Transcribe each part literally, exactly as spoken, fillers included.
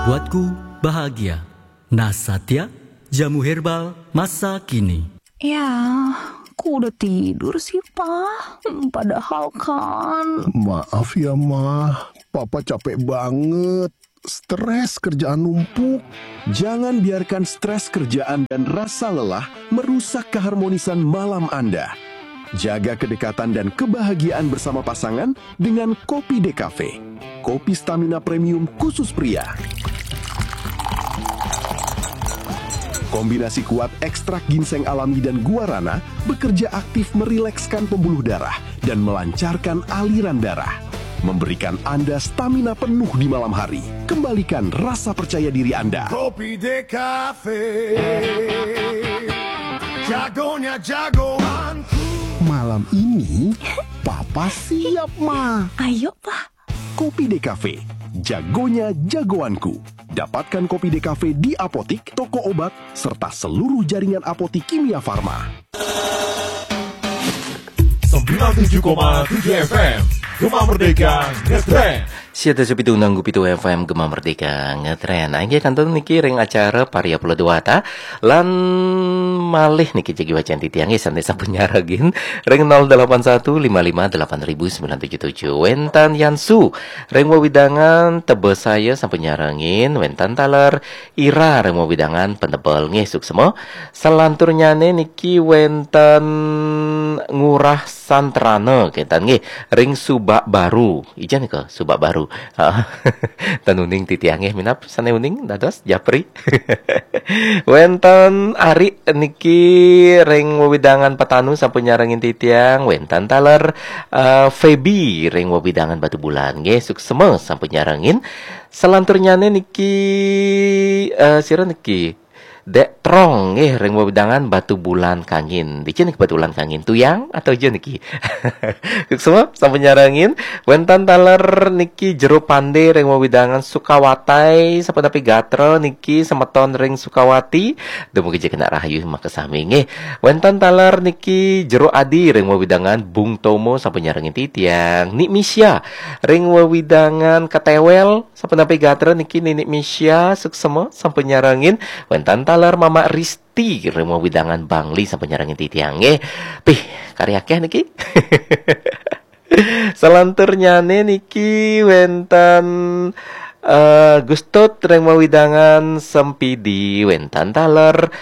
Buatku bahagia. Nah Satya, jamu herbal masa kini. Ya, ku udah tidur sih, Pak. Hmm, Padahal kan... Maaf ya, Mah. Papa capek banget. Stres kerjaan numpuk. Jangan biarkan stres kerjaan dan rasa lelah merusak keharmonisan malam Anda. Jaga kedekatan dan kebahagiaan bersama pasangan dengan Kopi Decafe. Kopi stamina premium khusus pria. Kombinasi kuat ekstrak ginseng alami dan guarana bekerja aktif merilekskan pembuluh darah dan melancarkan aliran darah. Memberikan Anda stamina penuh di malam hari. Kembalikan rasa percaya diri Anda. Kopi Decafe. Jagonya jagoanku. Malam ini, Papa siap, Mah. Ayo, Pak. Kopi Decafe, jagonya jagoanku. Dapatkan Kopi Decafe di apotik, toko obat, serta seluruh jaringan apotik Kimia Farma. sembilan tujuh koma tujuh F M Gema Merdeka Ngetrend. Siatus pitu nanggu pitu F M Gema Merdeka Ngetrend. Inggih kantun niki ring acara Parya Pulo Dewata lan malih niki jagi wacén titiang nggih sané sampun nyarengin ring nol delapan satu lima lima delapan ribu sembilan tujuh tujuh. Wénten Yansu ring wewidangan Tebesaya sampun nyarengin, wénten taler Ira ring wewidangan Penebel nggih suksma. Salanturnyané niki wénten Ngurah Santrana kénten nggih ring Subak Baru. Ija nika Subak Baru. Ha. Ten uning titiang nggih minab sané uning dados japri. Wénten Ari niki ring wewidangan Petanu sampun nyarengin titiang, wénten taler eh, Feby ring wewidangan Batubulan nggih suksma sampun nyarengin. Salanturnyané niki eh, sira niki Dék Trong nggih ring wewidangan Batubulan Kangin. Dija niki Batubulan Kangin? Tuyang atau ija niki? Suksma sampun nyarengin. Wénten taler niki Jero Pandé ring wewidangan Sukawatai, sapunapi gatra niki semeton ring Sukawati. Dumugi jagi kena rahayu makasami nggih. Wénten taler niki Jero Adi ring wewidangan Bung Tomo sampun nyarengin titiang. Nik Misya ring wewidangan Ketewel sapunapi gatra niki Ninik Misya suksma sampun nyarengin. Wénten taler Mamak Risti ring wewidangan Bangli sampun nyarengin titiang nggih. Pih, kari akéh niki. Salanturnyané niki wénten eh, Gustut ring wewidangan Sempidi, wénten taler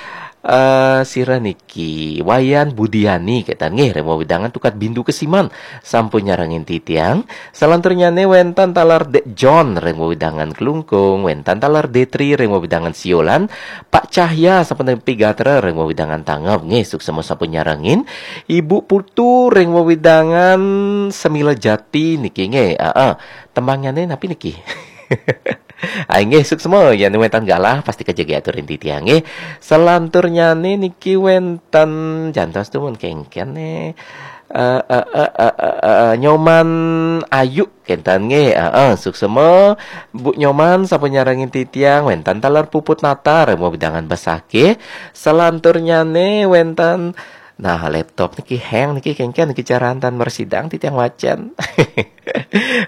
eh, sira niki Wayan Budiani kénten nggih ring wewidangan Tukat Bindu Kesiman sampun nyarengin titiang. Salanturnyané wénten taler Dék John ring wewidangan Klungkung, wénten taler Détri ring wewidangan Siolan, Pak Cahya sapunapi gatra ring wewidangan Tangeb nggih suksma sampun nyarengin. Ibu Putu ring wewidangan Semila Jati niki nggih. Heeh. Tembangnyané napi niki? Ai nggih suksma yén wénten galah pasti kajagi aturin titiang nggih. Salanturnyané niki wénten jantos tumun kéngkén né. Eh, eh, eh, eh, eh, eh, Nyoman Ayu kénten nggih. Heeh, suksma Bu Nyoman sampun nyarengin titiang, wénten taler Puput Nata ring wewidangan Besakih. Salanturnyané wénten Nah, laptop niki hang niki kéngkén niki caraan tan mresidang titiang wacén.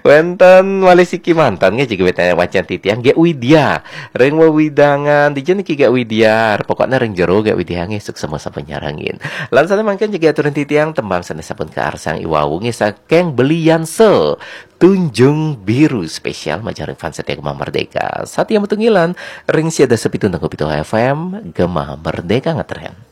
Wénten malih siki manten nggih jagi wénten wacén titiang Gék Widya. Ring wewidangan dija niki Gék Widya, pokoknya ring jero Gék Widya nggih suksma sampun nyarengin. Lan sané mangkin jagi aturin titiang tembang sané sampun kaarsang iwau nggih saking Belianse Tunjung Biru spesial majeng ring fans setia Gema Merdeka. Satya Matunggilan ring siatus pitu nanggu pitu F M Gema Merdeka Ngetrend.